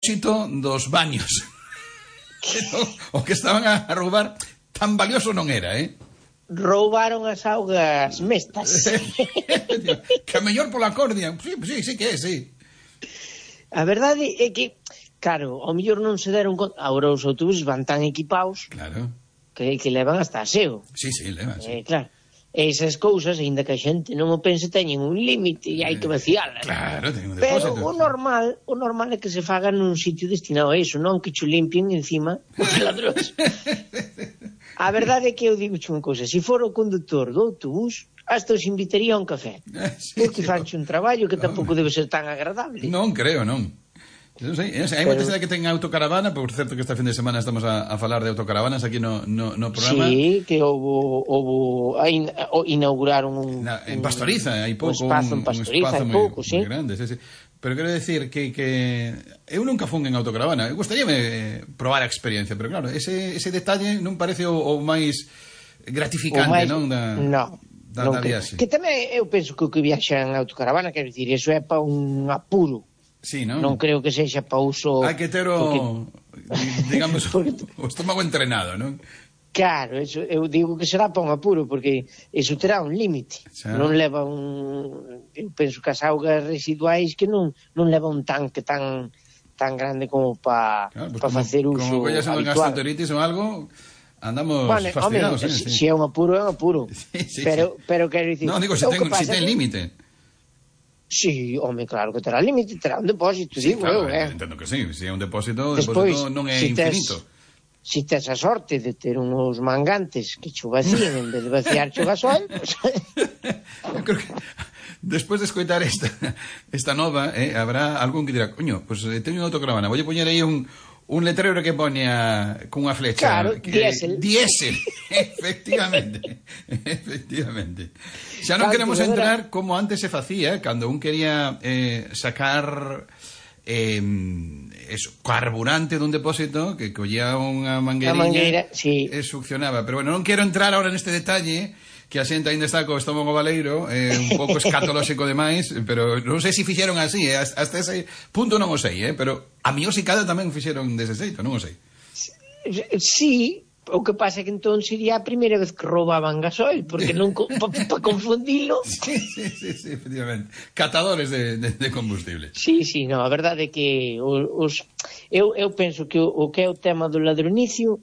dos baños. O que estaban a roubar tan valioso non era, Roubaron as augas mestas. Que a mellor pola cordia. Sí que é, sí. A verdade é que, claro, ao mellor non se deron conta. Agora os autobuses van tan equipados, claro, que levan hasta aseo. Sí, levan, sí. Claro, esas cousas, aínda que a xente non o pense, teñen un límite e hai que vacialas. Claro, teñen un depósito. Pero o normal é que se faga nun sitio destinado a iso, non que cho limpien encima os ladróns. A verdade é que eu digo unha cousa, se for o conductor do autobús, hasta os invitaría a un café, porque fanche un traballo que tampouco debe ser tan agradable. Non creo, non. Non sei, hai moita xente que ten autocaravana. Por certo que esta fin de semana estamos a falar de autocaravanas aquí no programa. Sí, que inauguraron en Pastoriza hai pouco un espazo en Pastoriza, hai pouco, sí. Moi grande, sí. Pero quero decir que eu nunca fun en autocaravana. Eu gustaríame probar a experiencia, pero claro, ese detalle non parece o máis gratificante, non? Non viaxe. Que tamén eu penso que o que viaxa en autocaravana, quero dicir, eso é para un apuro. Sí, non? Non creo que sexa para uso... Hai que ter digamos, o estómago entrenado, non? Claro, eso, eu digo que será para un apuro, porque eso terá un límite. Non leva eu penso que as augas residuais que non leva un tanque tan grande como para facer uso como collas unha gastroenteritis ou algo, andamos fastidiados. Se é un apuro, é un apuro. Sí. Pero quero dicir... Non, digo, se ten límite. Sí, home, claro que terá límite, terá un depósito, sí, digo claro, eu, entendo que sí, se é un depósito, non é infinito. Si tes a sorte de ter uns mangantes que cho vacíen en vez de vaciar cho gasol, pues... Eu creo que despois de escoitar esta nova, habrá algún que dirá, coño, pues teño unha autocaravana, voulle poñer aí un letrero que poña cunha flecha. Claro, diésel. Efectivamente. Xa non queremos entrar como antes se facía, cando un quería sacar carburante dun depósito, que collía unha mangueiriña sí. E succionaba. Pero bueno, non quero entrar ahora neste detalle, que a xente ainda está co estómago baleiro, un pouco escatolóxico demais, pero non sei se fixeron así, hasta ese punto non o sei, pero a miosicada tamén fixeron dese xeito, non o sei. Sí, o que pasa é que entón sería a primeira vez que roubaban gasoil, porque non para confundilo. Sí, efectivamente. Catadores de combustible. Sí, no, a verdade é que eu penso que o que é o tema do ladronicio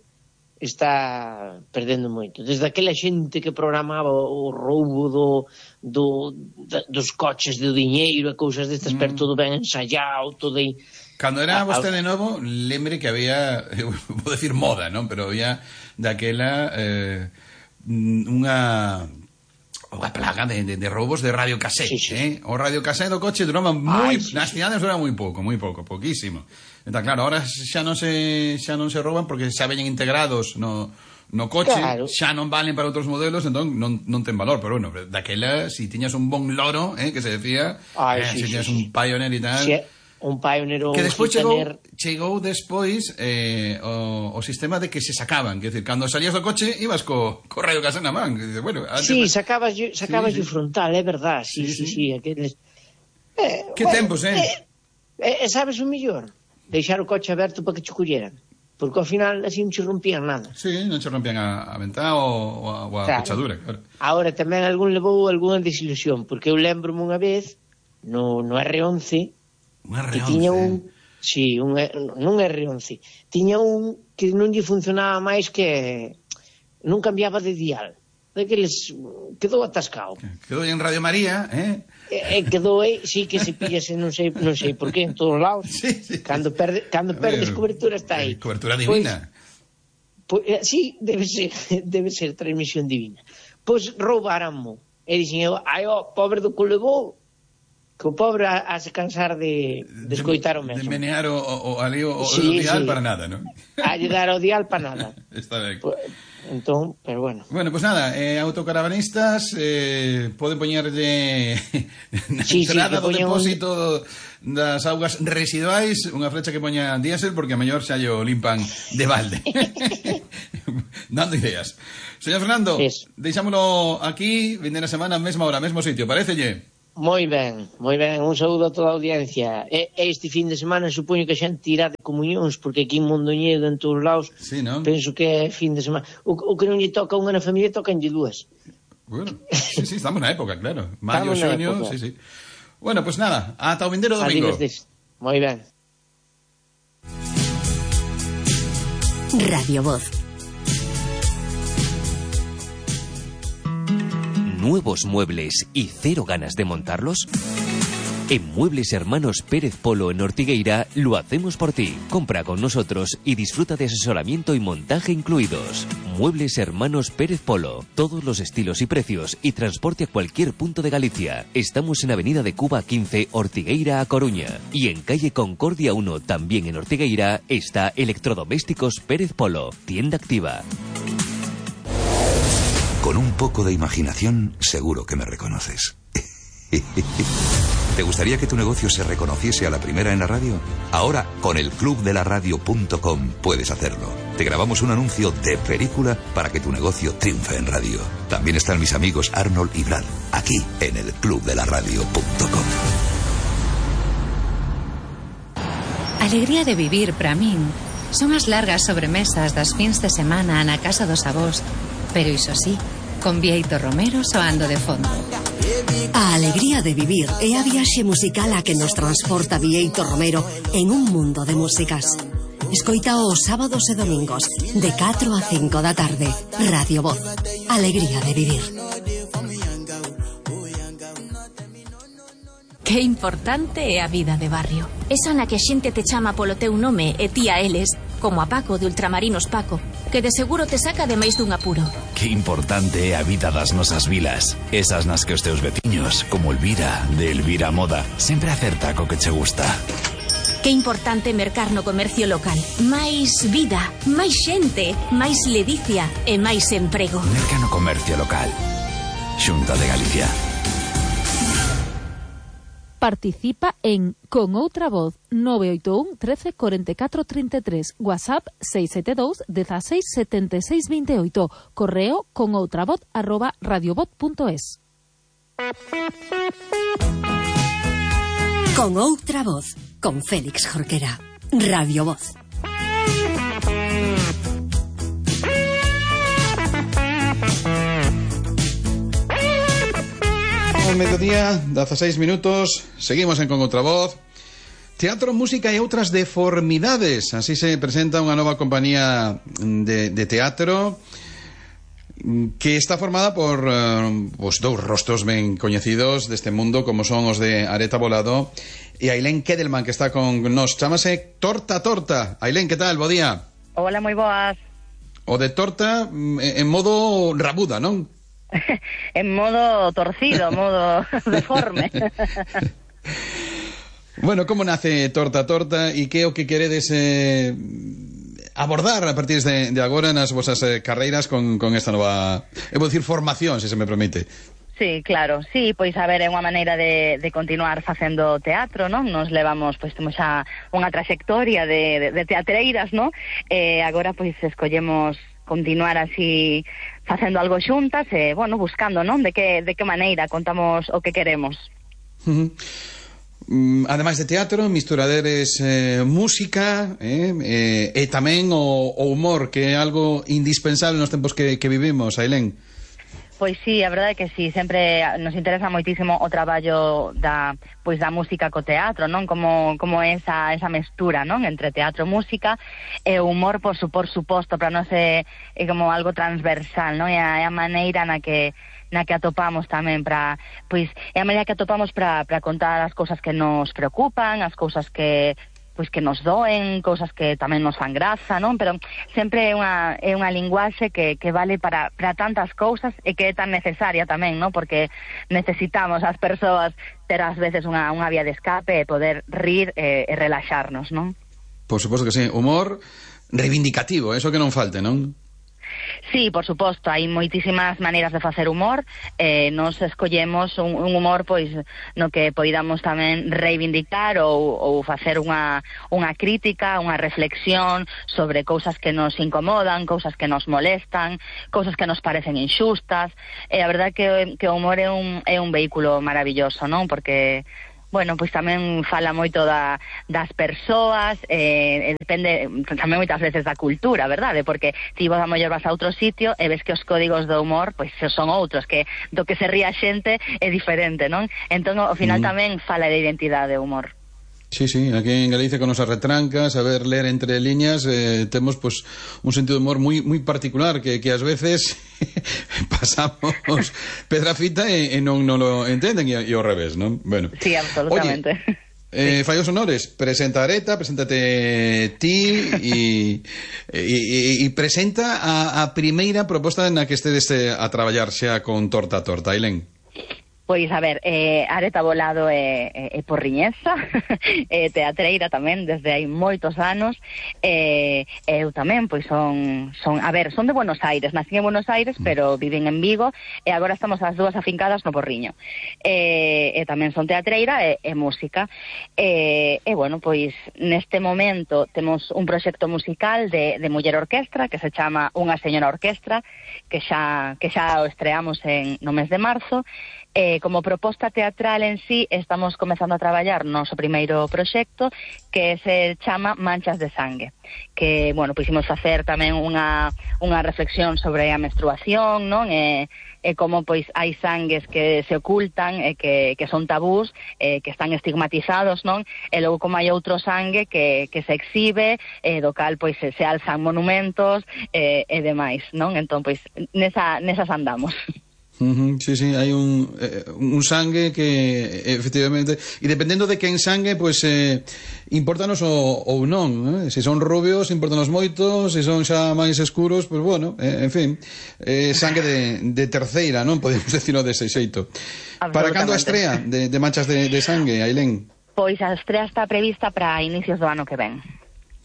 está perdendo moito. Desde aquela xente que programaba o roubo dos coches de diñeiro e cousas destas, pero todo ben ensayado, todo aí. Cando era vostede novo, lembre que había, vou decir moda, non? Pero había daquela unha plaga de roubos de radiocasete, sí. O radiocasete do coche duraba nas cidades duraba moi pouco, poquísimo. Entón, claro, ahora xa non se rouban porque xa veñen integrados no coche, claro. Xa non valen para outros modelos, entón non ten valor, pero bueno, daquela, si tiñas un bon loro, que se decía, si tiñas un Pioneer e tal... Sí. Un Pioneer ou que despois chegou despois o sistema de que se sacaban, que decir, cando salías do coche ibas co radiocasete na man, bueno, sí, sacabas o frontal, é verdad, sí, aqueles que tempos, sabes o mellor? Deixar o coche aberto para que che colleran, porque ao final así non che rompían nada. Sí, non che rompían a ventá ou a fechadura, claro. Agora tamén algún levou algunha desilusión, porque eu lembro-me unha vez no R11 que tiña non R11, tiña un que non lle funcionaba máis, que non cambiaba de dial, daqueles, quedou atascado. Quedou en Radio María, quedou aí, sí, que se pillase, non sei por qué, en todos lados. Sí. Cando perdes cobertura está aí. Cobertura divina. Pues, sí, debe ser transmisión divina. Pois roubaranmo. E dixen, pobre do que levou, que o pobre a se cansar de escoitar o mesmo. De menear o dial para nada, non? A lle dar o dial para nada. Está ben. Entón, pero bueno. Bueno, pues nada, autocaravanistas poden poñerlle na entrada do depósito das augas residuais unha flecha que poña diésel, porque a mellor xa lle limpan de balde. Dando ideas. Señor Fernando, deixámolo aquí, vindeira semana, mesma hora, mesmo sitio, parecelle? Moi ben, un saúdo a toda a audiencia. Este fin de semana supoño que a xente irá de comunións, porque aquí en Mondoñedo, en todos lados, sí, ¿no? Penso que é fin de semana. O que non lle toca unha na familia, tocanlle dúas. Bueno, sí, estamos na época, claro. Maio, xuño, sí. Bueno, pues nada, ata o vindeiro domingo. Moi ben. Radio Voz. ¿Nuevos muebles y cero ganas de montarlos? En Muebles Hermanos Pérez Polo en Ortigueira lo hacemos por ti. Compra con nosotros y disfruta de asesoramiento y montaje incluidos. Muebles Hermanos Pérez Polo. Todos los estilos y precios y transporte a cualquier punto de Galicia. Estamos en Avenida de Cuba 15, Ortigueira a Coruña. Y en calle Concordia 1, también en Ortigueira, está Electrodomésticos Pérez Polo. Tienda activa. Con un poco de imaginación, seguro que me reconoces. ¿Te gustaría que tu negocio se reconociese a la primera en la radio? Ahora, con el clubdelaradio.com puedes hacerlo. Te grabamos un anuncio de película para que tu negocio triunfe en radio. También están mis amigos Arnold y Brad, aquí en el clubdelaradio.com. Alegría de vivir para min son as largas sobremesas das fins de semana na casa dos avós, pero iso sí, con Bieito Romero soando de fondo. A alegría de vivir é a viaxe musical a que nos transporta Bieito Romero en un mundo de músicas. Escoita os sábados e domingos de 4 a 5 da tarde. Radio Voz. Alegría de vivir. Que importante é a vida de barrio. Esa na que a xente te chama polo teu nome e ti a eles, como a Paco de Ultramarinos Paco, que de seguro te saca de máis dun apuro. Que importante é a vida das nosas vilas. Esas nas que os teus veciños, como Elvira, de Elvira Moda, sempre acerta co que che gusta. Que importante mercar no comercio local. Máis vida, máis xente, máis ledicia e máis emprego. Merca no comercio local. Xunta de Galicia. Participa en Con Outra Voz 981 13 44 33, WhatsApp 672 16 76 28, correo conoutravoz@radiovoz.es. Con Outra Voz, con Félix Jorquera. Radio Voz. Al mediodía, 16 minutos, seguimos en Con Outra Voz. Teatro, música e outras deformidades. Así se presenta unha nova compañía de teatro que está formada por dous rostros ben coñecidos deste mundo, como son os de Areta Volado e Ailén Kedelman, que está con nos. Chámase Torta Torta. Ailén, que tal? Bo día. Hola, moi boas. O de torta en modo rabuda, non? En modo torcido, modo deforme. Bueno, como nace Torta Torta e que é o que queredes abordar a partir de agora nas vosas carreiras con esta nova, vou dicir, formación, se me permite? Sí, claro, sí, pois a ver, é unha maneira de continuar facendo teatro, non? Nos levamos, pois temos xa unha traxectoria de teatreiras, non? E agora, pois, escollemos continuar así facendo algo xuntas e, bueno, buscando, non? De que maneira contamos o que queremos. Ademais de teatro, misturaderes música e tamén o humor, que é algo indispensable nos tempos que vivimos, Ailén. Pois sí, a verdade é que sí, sempre nos interesa moitísimo o traballo da música co teatro, non? Como esa mestura, non? Entre teatro e música, e o humor, por suposto, para nós é como algo transversal, non? É a maneira na que atopamos tamén para, pois, é a maneira que atopamos para contar as cousas que nos preocupan, as cousas que nos doen, cousas que tamén nos fan graza, non? Pero sempre é unha linguaxe que vale para tantas cousas e que é tan necesaria tamén, non? Porque necesitamos as persoas ter ás veces unha vía de escape e poder rir e relaxarnos, non? Por suposto que sí, humor reivindicativo, eso que non falte, non? Sí, por suposto, hai moitísimas maneiras de facer humor. Nos escollemos un humor pois no que poidamos tamén reivindicar ou facer unha crítica, unha reflexión sobre cousas que nos incomodan, cousas que nos molestan, cousas que nos parecen inxustas. A verdade que o humor é un vehículo maravilloso, non? Porque bueno, pois tamén fala moito das persoas, depende tamén moitas veces da cultura, verdade? Porque ti vos a mellor vas a outro sitio e ves que os códigos do humor pois son outros, que do que se ríe a xente é diferente, non? Entón, ao final tamén fala de identidade o humor. Sí, sí, aquí en Galicia con nosas retrancas, saber ler entre líneas, temos pues un sentido de humor moi particular que ás veces pasamos pedra fita e non lo entenden e ao revés, non? Bueno. Sí, absolutamente. Oye, fallos honores, presenta Areta, preséntate ti e presenta a primeira proposta na que estedes a traballar xa con Torta a Torta, Ailén. Pois, a ver, Areta Volado é porriñesa, é teatreira tamén desde hai moitos anos, eu tamén, pois son de Buenos Aires, nací en Buenos Aires, pero viven en Vigo, e agora estamos as dúas afincadas no Porriño. E tamén son teatreira e música. E, bueno, pois, neste momento temos un proxecto musical de muller orquestra, que se chama Unha Señora Orquestra, que xa o estreamos no mes de marzo. Como proposta teatral en sí, estamos comezando a traballar no noso primeiro proxecto, que se chama Manchas de Sangue, que, bueno, pois imos facer tamén unha reflexión sobre a menstruación, non? E como, pois, hai sangues que se ocultan, que son tabús, que están estigmatizados, non? E logo como hai outro sangue que se exhibe, do cal, pois, se alzan monumentos e demais, non? Entón, pois, nesas andamos. Sí, sí, hai un sangue que efectivamente, e dependendo de quen sangue, pois importanos ou non, se son rubios importanos moito, se son xa máis escuros, pois bueno, en fin, sangue de terceira, non? Podemos decirlo dese xeito. Para cando a estrea de Manchas de Sangue, Ailén? Pois a estrea está prevista para inicios do ano que ven.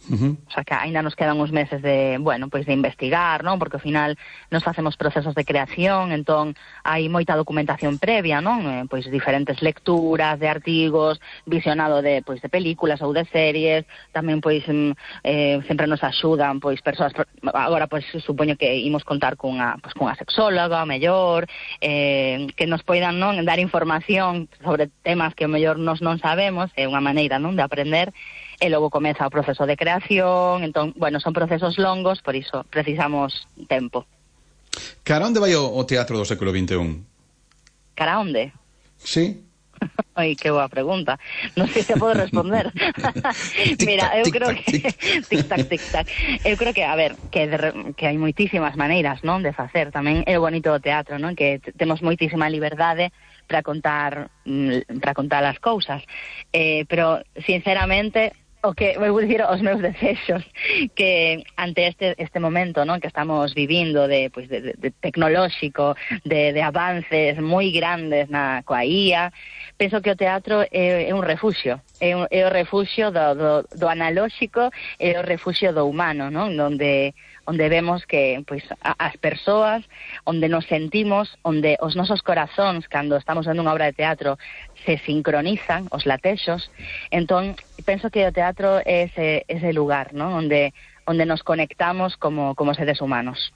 O sea que ainda nos quedan uns meses de, bueno, pois de investigar, non? Porque ao final nos facemos procesos de creación, entón hai moita documentación previa, non? Pois diferentes lecturas de artigos, visionado de películas ou de series, tamén pois sempre nos axudan pois persoas, agora pois supoño que imos contar cunha sexóloga, mellor, que nos poidan, non, dar información sobre temas que o mellor nos non sabemos, é unha maneira, non, de aprender. E logo comeza o proceso de creación, entón, bueno, son procesos longos, por iso precisamos tempo. Cara onde vai o teatro do século XXI? Cara onde? Sí. Ai, que boa pregunta. Non sei se podo responder. Mira, eu creo que tic-tac, tic-tac. Eu creo que, a ver, que hai moitísimas maneiras, non, de facer. Tamén é o bonito do teatro, non, que temos moitísima liberdade para contar as cousas. Pero, sinceramente, o que vou dicir os meus desexos, que ante este momento, non, que estamos vivindo de tecnolóxico, de avances moi grandes coa IA, penso que o teatro é un refuxio, é o refuxio do analóxico, é o refuxio do humano, non? Onde vemos que pois as persoas, onde nos sentimos, onde os nosos corazóns, cando estamos vendo unha obra de teatro, se sincronizan, os latexos. Entón, penso que o teatro é ese lugar, non? Onde nos conectamos como seres humanos.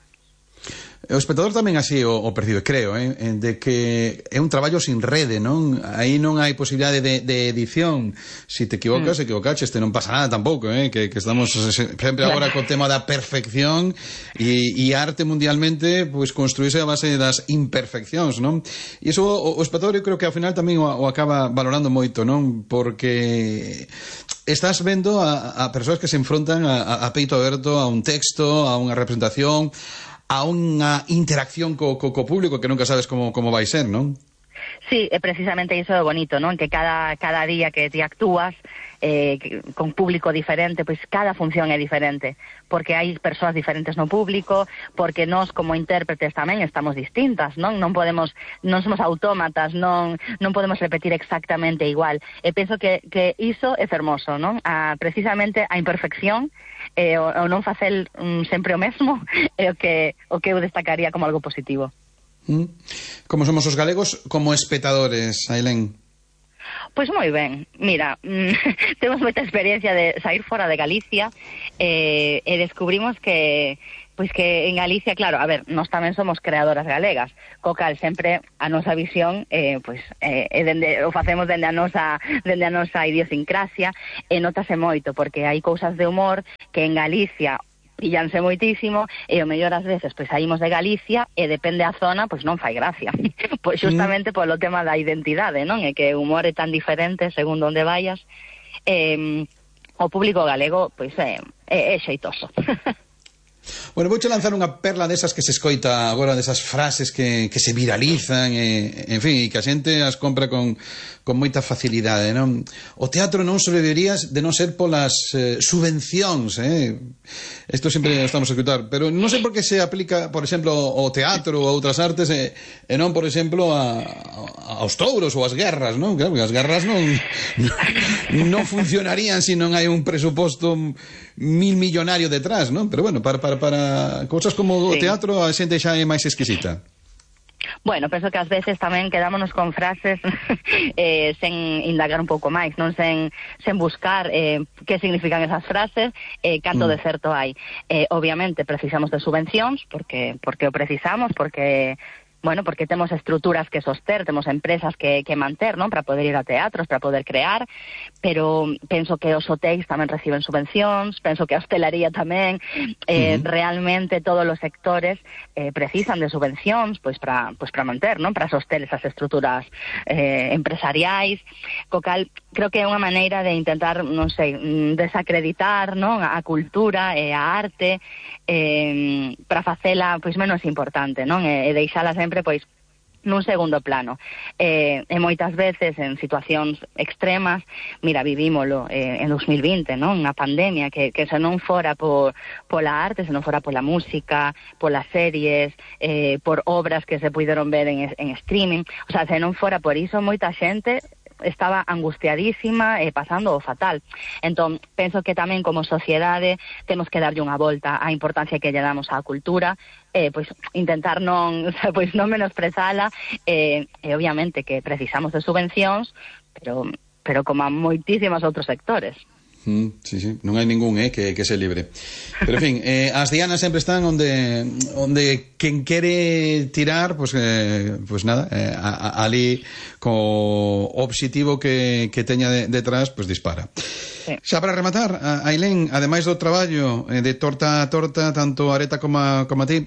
O espectador tamén así o percibe, creo, de que é un traballo sin rede, non? Aí non hai posibilidade de edición. Si te equivocas, equivocaches, non pasa nada tampouco, que estamos sempre agora co tema da perfección e arte mundialmente pois construíse a base das imperfeccións, non? E iso o espectador eu creo que ao final tamén o acaba valorando moito, non? Porque estás vendo a persoas que se enfrontan a peito aberto a un texto, a unha representación, a unha interacción co público que nunca sabes como vai ser, non? Sí, precisamente iso é bonito, non? Que cada día que ti actúas con público diferente, pois cada función é diferente, porque hai persoas diferentes no público, porque nós como intérpretes tamén estamos distintas, non somos autómatas, non podemos repetir exactamente igual. E penso que iso é fermoso, non? Precisamente a imperfección o non facer sempre o mesmo é o que eu destacaría como algo positivo. Como somos os galegos como espectadores, Ailén? Pois moi ben, mira, temos moita experiencia de sair fora de Galicia e descubrimos que en Galicia, claro, a ver, nós tamén somos creadoras galegas, co cal sempre a nosa visión o facemos dende a nosa idiosincrasia e notase moito, porque hai cousas de humor que en Galicia pillanse moitísimo e o mellor ás veces pois saímos de Galicia e depende a zona pois non fai gracia. Pois justamente polo tema da identidade, non? É que o humor é tan diferente según onde vayas. O público galego pois é xeitoso. Bueno, vouche lanzar unha perla desas que se escoita agora, desas frases que se viralizan en fin, e que a xente as compra con moita facilidade, non? O teatro non sobrevivería de non ser polas subvencións, isto sempre estamos a escutar, pero non sei por que se aplica, por exemplo, ao teatro ou a outras artes e non, por exemplo, aos touros ou ás guerras, non? Claro, porque as guerras non funcionarían se non hai un presuposto millonario detrás, non? Pero bueno, para cousas como o teatro a xente xa é máis exquisita. Bueno, penso que ás veces tamén quedámonos con frases sen indagar un pouco máis, non sen buscar que significan esas frases, canto de certo hai. Obviamente precisamos de subvencións, porque o precisamos, porque temos estruturas que soster, temos empresas que manter, non? Para poder ir a teatros, para poder crear, pero penso que os hotéis tamén reciben subvencións, penso que a hostelería tamén, realmente todos os sectores precisan de subvencións, pois para manter, non? Para soster esas estruturas empresariais, co cal creo que é unha maneira de intentar, non sei, desacreditar, non? A cultura e a arte para facela pois menos importante, non? E deixala sempre pois nun segundo plano. E moitas veces en situacións extremas, mira, vivímolo en 2020, non? Unha pandemia que se non fora pola arte, se non fora pola música, polas series, por obras que se puideron ver en streaming, o sea, se non fora por iso, moita xente estaba angustiadísima e pasando o fatal. Entón, penso que tamén como sociedade temos que darlle unha volta á importancia que lle damos á cultura, pois intentar non menosprezala, e obviamente que precisamos de subvencións, pero como a moitísimos outros sectores. Sí, non hai ningún que se libre. Pero en fin, as dianas sempre están onde quen quere tirar, pois nada, ali co obxectivo que teña detrás, pois dispara. Sí. Xa para rematar, Ailén, ademais do traballo de torta a torta, tanto Areta como a ti,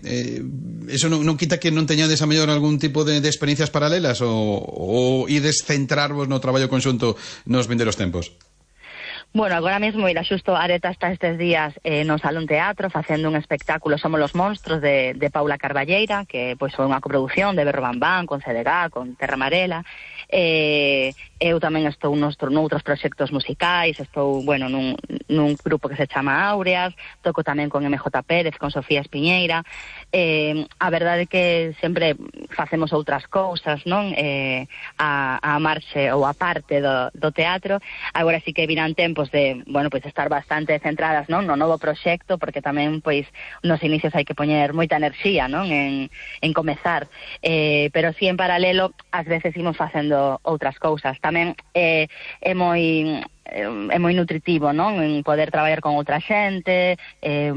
eso non quita que non teñades a mellor algún tipo de experiencias paralelas ou ides centrarvos no traballo conxunto nos vindeiros tempos? Bueno, agora mesmo, mira, xusto Areta está estes días no Salón Teatro facendo un espectáculo Somos los monstruos de Paula Carballeira, que pois foi unha coproducción de Berro Bambán, con CDG, con Terra Amarela. Eu tamén estou noutros proxectos musicais, estou, nun grupo que se chama Áureas, toco tamén con MJ Pérez, con Sofía Espiñeira. A verdade é que sempre facemos outras cousas, non? A marxe ou a parte do teatro. Agora sí que virán tempos de, pois estar bastante centradas, non? No novo proxecto, porque tamén, pois, nos inicios hai que poñer moita enerxía, non? En comezar. Pero sí, en paralelo, ás veces imos facendo outras cousas. Tamén é moi nutritivo, non? En poder traballar con outra xente,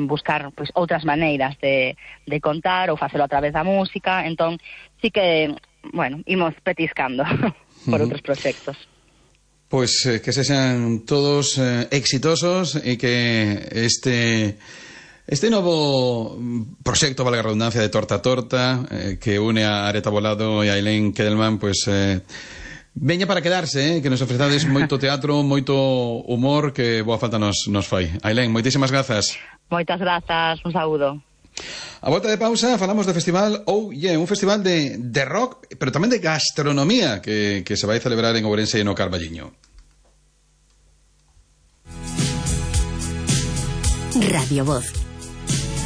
buscar pois outras maneiras de contar ou facelo a través da música. Entón, sí que, imos petiscando por outros proxectos. Pois que sexan todos exitosos e que este novo proxecto, valga a redundancia, de Torta a Torta, que une a Areta Bolado e a Ailén Kedelman, pois veña para quedarse, que nos ofrezades moito teatro, moito humor, que boa falta nos fai. Ailén, moitísimas grazas. Moitas grazas, un saúdo. A volta de pausa falamos do festival un festival de rock, pero tamén de gastronomía, que se vai celebrar en Ourense e no Carballiño. Radio Voz,